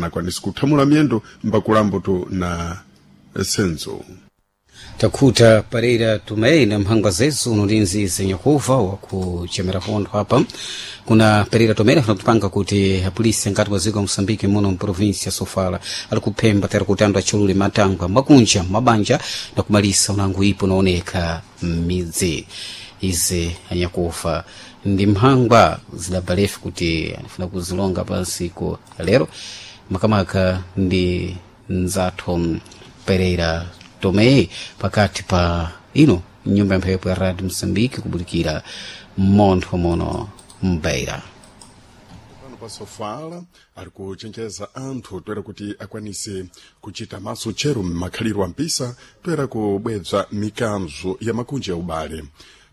Anakwanisa kuthamula myendo mbakulambo na senzo. Takhuta Pereira Tomé na mphangwa zezu uno ndi nzizi nyakuva wakuchemera pontho apa kuna Pereira Tomé afuna kutipanga kuti apolisi nkati mwa dziko la Moçambique muno mprovinsi ya Sofala ali kuphemba tera kuti anthu atchulule matangwa makunja mabanja na kumalisa unango ipo unaoneka m'midzi. Izi anyakufa ndi mphangwa zidabalefu kuti anafuna kuzilonga pa nsiku lero makamaka ndi nzathu Pereira Tomé pakati pa ino nyumba ya mphepo ya Radio Moçambique kubulikira montho mono mbeira. Pano pa Sofala ali kuchenjeza anthu toera kuti akwanise kuchita maso tcheru m'makhaliro ampisa toera kubwebza mikanzo ya makunja ya ubale.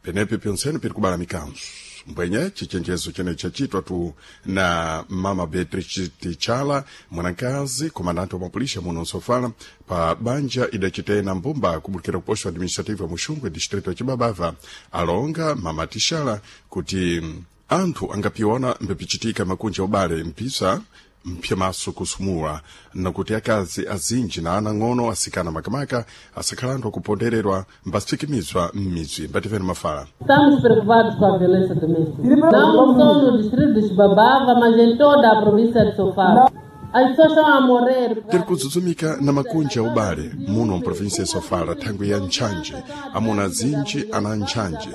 Penepi pyonsene piri kubala mikanzo mbwenye chichenjezo chene chachitwa tu na mama Beatrice Tichala, mwanakazi komandante wa mapulisha muno Sofala, pa banja idachitena mbumba kubulikira kuposto administrativo ya Muxungwe, distrito ya Chibabava. Alonga mama Tishala kuti anthu angapiona mbepichitika makunja ubale mpisa mpya maso kusumula, nakuti akazi azinji na ana ng'ono asikana makamaka asakhala anthu akupondererwa mbasikimizwa m'midzi. Mbativeni mafala. Estamos preocupados com a violência doméstica, não só no distrito de Chibabava, mas em toda a província de Sofala. As pessoas estão a morrer. Tiri kudzudzumika na makunja ubale muno mprovinsi ya Sofala thangwi ya ntchanje. Amuna azinji ana ntchanje,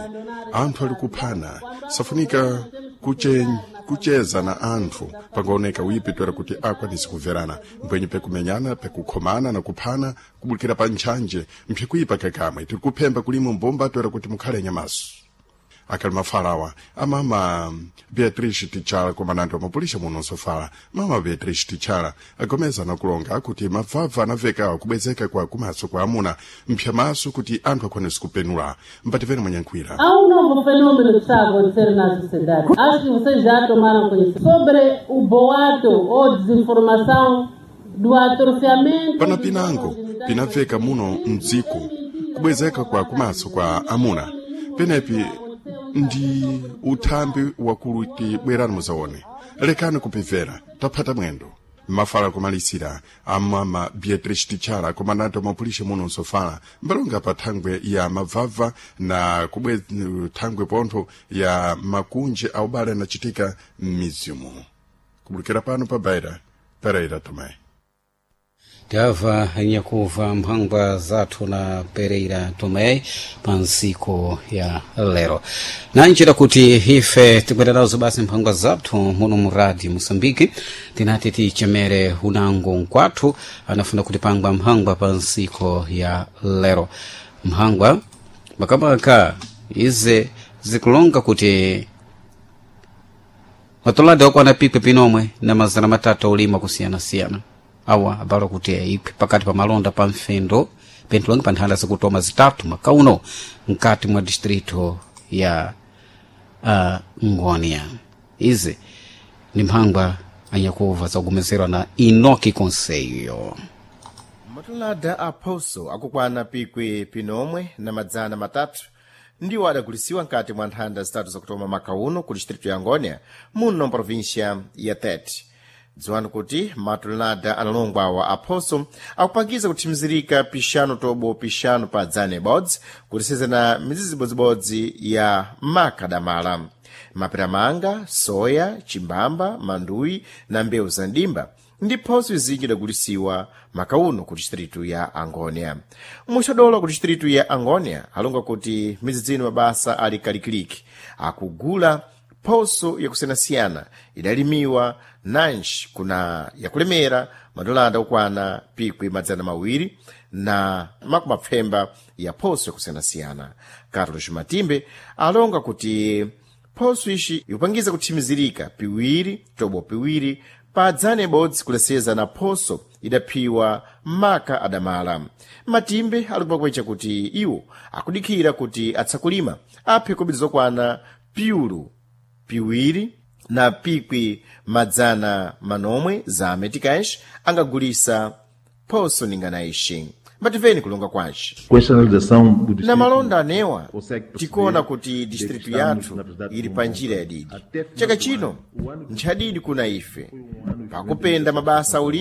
anthu ali kuphana. Safunika kucheza na anthu pangaoneka wipi toera kuti akwanise kumverana mbwenye pekumenyana, pekukhomana na kuphana kubulikira pa ntchanje mphikuipa kakamwe. Tiri kuphemba kulimo mbumba toera kuti mukhale nyamaso. Akali mafalawa amama Beatrice Tichala, komandante wa mapulisha muno Sofala. Mama Beatrice Tichala agomeza nakulonga kuti mabvabva anavekawa kubwezeka kwa kumaso kwa amuna mphyamaso kuti anthu akwanise kupenula. Mbativeni mwanyankhwira. Há um novo fenômeno que está a acontecer na sociedade. Acho que vocês já tomaram conhecimento sobre o boato ou desinformação do atrofiamento. Pana pinango pinaveka muno mdziko kubwezeka kwa kumaso kwa amuna penepi ndi uthambi wakuluti bwerani muzaone, lekani kupimvera taphata mwendo. Mafala kumalisira amama Beatrice Tichala, komandante wa mapulisha muno Sofala, mbalonga pa thangwe ya mabvabva na kubwe thangwe pontho ya makunje aubale anachitika m'midzimu. Kubulikira pano pa Beira, Pereira Tomé. Tava nyakuva mphangwa zathu na Pereira Tomé pa ntsiku ya lero. Nanjira kuti ife tikwenda nazo basi mphangwa zathu muno mu Radio Moçambique tinati tichemere unango nkwathu anafuna kutipangwa mphangwa pa ntsiku ya lero. Mphangwa makamaka ize zikulonga kuti matoladi okwana pikwi pinomwe na 300 olima kusiyanasiyana awa abalo kuti iphi pakati pa malonda pa mfendo pentulonge pa nthanda zikutoma zitatu makauno mkati mwa distrito ya Ngonia. Izi ni mphangwa anyakuva zakugomeserwa na Inoki Conseio. Matolada a phoso akukwana pikwi pinomwe na 300 ndiwo adagulisiwa nkati mwa nthanda zitatu zakutoma makauno ku distrito ya Ngônia, muno mprovíncia ya Tete. Dziwani kuti matolada analongwa wa aphoso akupangiza kuthimizirika pixanu tobo pixanu pa dzana ibodzi kutisezana mizizi ibodzibodzi ya makadamala, maperamanga, soya, chimbamba, manduyi na mbewu za ndimba ndi phoso izinji idagulisiwa makauno ku distritu ya Angônia. Muxodola ku distritu ya Angônia alonga kuti mizidzino mabasa ali kalikiliki akugula phoso yakusiyanasiyana idalimiwa nanji kuna yakulemera madolada okwana pikwi 200 na makumapfemba ya phoso yakusiyanasiyana. Carlos Matimbe alonga kuti phoso ixi ikupangiza kuthimizirika piwiri tobo piwiri pa dzana ibodzi kuleseza na phoso idaphiwa maka adamala. Matimbe alikupakueca kuti iwo akudikhira kuti atsakulima aphe kobiri zokwana piulu piwiri na pikwi 800 za meticais angagulisa phoso ningana ixi. Mbativeni kulonga kwace Com esta analisação, o distrito na malonda anewa consegue perceber tikuona kuti de que distritu estamos, yathu na verdade, ili num pa bom njira caminho. yadidi. Até final Chaka do chino ano, o ano ntchadidi kuna ife foi um ano pakupenda mabasa extremamente ulimi.